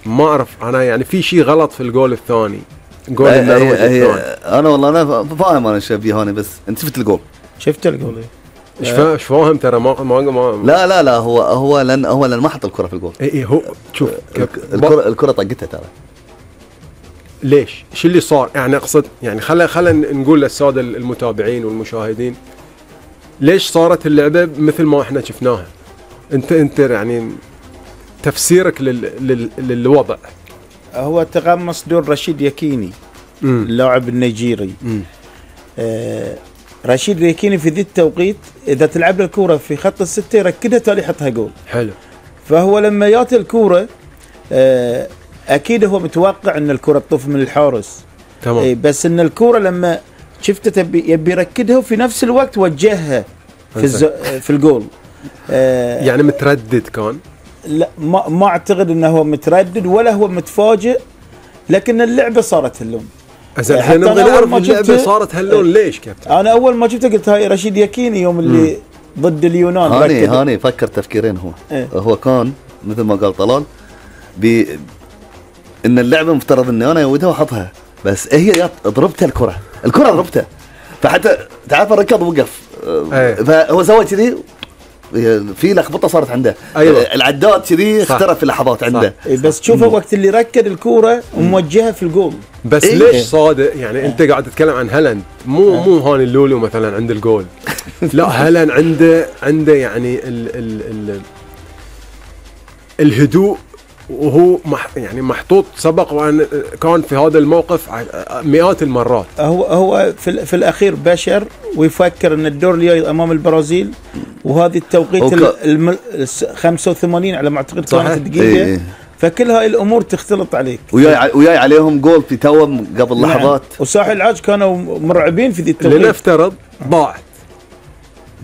ما اعرف انا يعني في شيء غلط في الجول الثاني، جول النرويج الثاني. انا والله انا فاهم انا شبيه هوني، بس انت شفت الجول؟ شفت الجول ايش فاهم ترى ما لا هو لن ما حط الكره في الجول. اي هو شوف الكره طقتها ترى. ليش؟ شو اللي صار؟ يعني اقصد يعني خلينا نقول للساده المتابعين والمشاهدين ليش صارت اللعبه مثل ما احنا شفناها. انت يعني تفسيرك للوضع. هو تغمس دور رشيد يكيني اللاعب النيجيري. رشيد يكيني في ذي التوقيت اذا تلعب الكوره في خط الستة يركدها تالي يحطها جول. حلو. فهو لما ياتي الكوره اكيد هو متوقع ان الكره تطوف من الحارس. تمام. بس ان الكوره لما شفته يبي يركدها وفي نفس الوقت وجهها في الجول. يعني متردد كان؟ لا ما اعتقد انه هو متردد ولا هو متفاجئ، لكن اللعبه صارت هاللون. احنا نبغى نعرف اللعبه صارت هاللون ليش كابتن؟ انا اول ما شفته قلت هاي رشيد يكيني يوم اللي ضد اليونان. هاني فكر تفكيرين. هو كان مثل ما قال طلال ان اللعبه مفترض اني انا يودها واحطها، بس هي ضربتها الكره ضربتها، فحتى تعرف الركض وقف. فهو سوى كذي، في لخبطه صارت عنده. أيوة. العداد كذي اخترف في لحظات عنده. بس تشوفه وقت اللي ركد الكوره وموجهها في الجول. بس ليش صادق؟ يعني انت قاعد تتكلم عن هالاند، مو هاني اللولو مثلا عند الجول. لا هالاند عنده يعني الهدوء، وهو يعني محطوط سبق وان كان في هذا الموقف مئات المرات. هو في الاخير بشر ويفكر ان الدور الجاي امام البرازيل، وهذه التوقيت 85 على ما اعتقد كانت الدقيقه. فكل هاي الامور تختلط عليك. وياي عليهم جول في توم قبل لحظات. وساحل العاج كانوا مرعبين في ذي التوقيت. لنفترض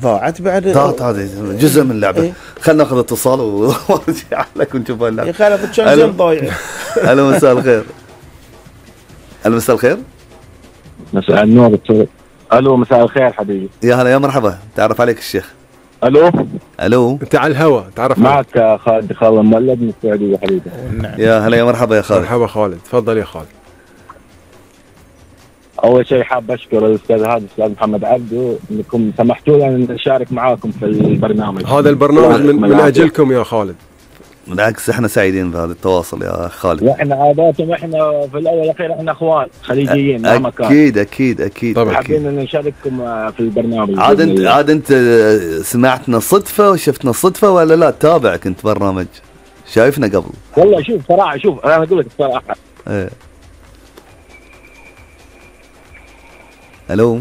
ضاعت بعد. هذه جزء من اللعبه. خلنا ناخذ اتصال ونرجع لك ونشوف اللعبه. يا خالد كان زين ضايع. الو مساء الخير. مساء الخير. مساء النور. الو مساء الخير حبيبي. يا هلا يا مرحبا. تعرف عليك الشيخ. الو انت على الهواء. تعرف معك خالد مولد من السعوديه حبيبي. يا هلا يا مرحبا يا خالد. مرحبا خالد، تفضل يا خالد. اول شيء حاب اشكر الاستاذ الاستاذ محمد عبده انكم سمحتوا لنا ان نشارك معاكم في البرنامج. هذا البرنامج من اجلكم يا خالد. بالعكس احنا سعيدين بهذا التواصل يا خالد. واحنا عاداتنا احنا في الاول والاخير احنا اخوان خليجيين مهما كان. اكيد طبعا. حابين ان نشارككم في البرنامج. عاد انت سمعتنا صدفه وشفتنا صدفه ولا لا؟ تابع كنت برنامج شايفنا قبل؟ والله شوف صراحه انا اقول لك الصراحه. الو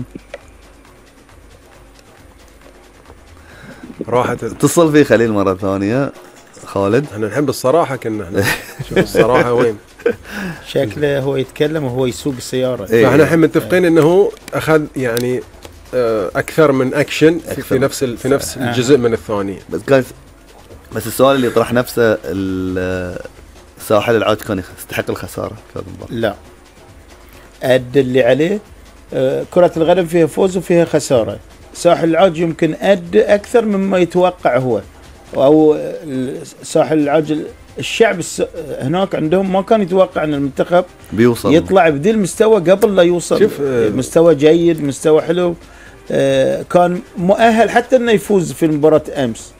راحت اتصل فيه خليل مرة ثانية. خالد احنا نحب الصراحة، كنا احنا شوف الصراحة وين. شكله هو يتكلم وهو يسوق السيارة. فاحنا الحين متفقين انه اخذ يعني اكثر من اكشن في نفس الجزء من الثانية. بس السؤال اللي يطرح نفسه، ساحل العاج كان يستحق الخسارة في هذا المباراة؟ لا، أدى اللي عليه. كرة القدم فيها فوز وفيها خسارة. ساحل العاج يمكن أدى أكثر مما يتوقع هو، أو ساحل العاج الشعب هناك عندهم ما كان يتوقع أن المنتخب بيوصل يطلع بذي المستوى قبل لا يوصل. مستوى جيد، مستوى حلو. كان مؤهل حتى أنه يفوز في مباراة أمس،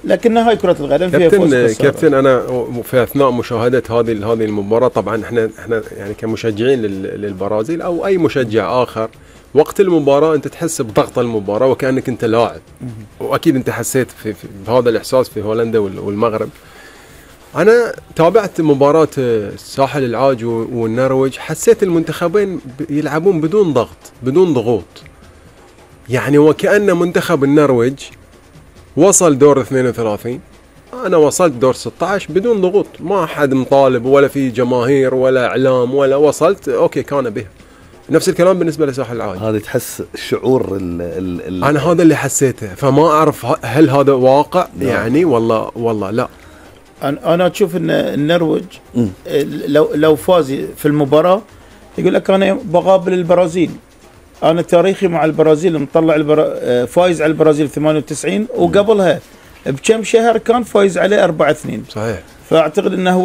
لكن هاي كرة القدم فيها فوز خسارة. كابتن أنا في أثناء مشاهدة هذه المباراة، طبعا احنا يعني كمشجعين للبرازيل أو أي مشجع آخر، وقت المباراة أنت تحس بضغط المباراة وكأنك أنت لاعب، وأكيد أنت حسيت في هذا الإحساس في هولندا والمغرب. أنا تابعت مباراة ساحل العاج والنرويج، حسيت المنتخبين يلعبون بدون ضغط، بدون ضغوط. يعني وكأن منتخب النرويج وصل دور 32، أنا وصلت دور 16 بدون ضغوط، ما حد مطالب ولا في جماهير ولا إعلام ولا وصلت أوكي كان به. نفس الكلام بالنسبة لساحل العاج. هذا تحس شعور أنا هذا اللي حسيته، فما أعرف هل هذا واقع يعني والله لا. أنا أشوف إن النرويج لو فاز في المباراة يقول لك أنا بقابل البرازيل، أنا تاريخي مع البرازيل مطلع فايز على البرازيل 98، وقبلها بكم شهر كان فايز عليه 4-2. صحيح. فأعتقد أنه هو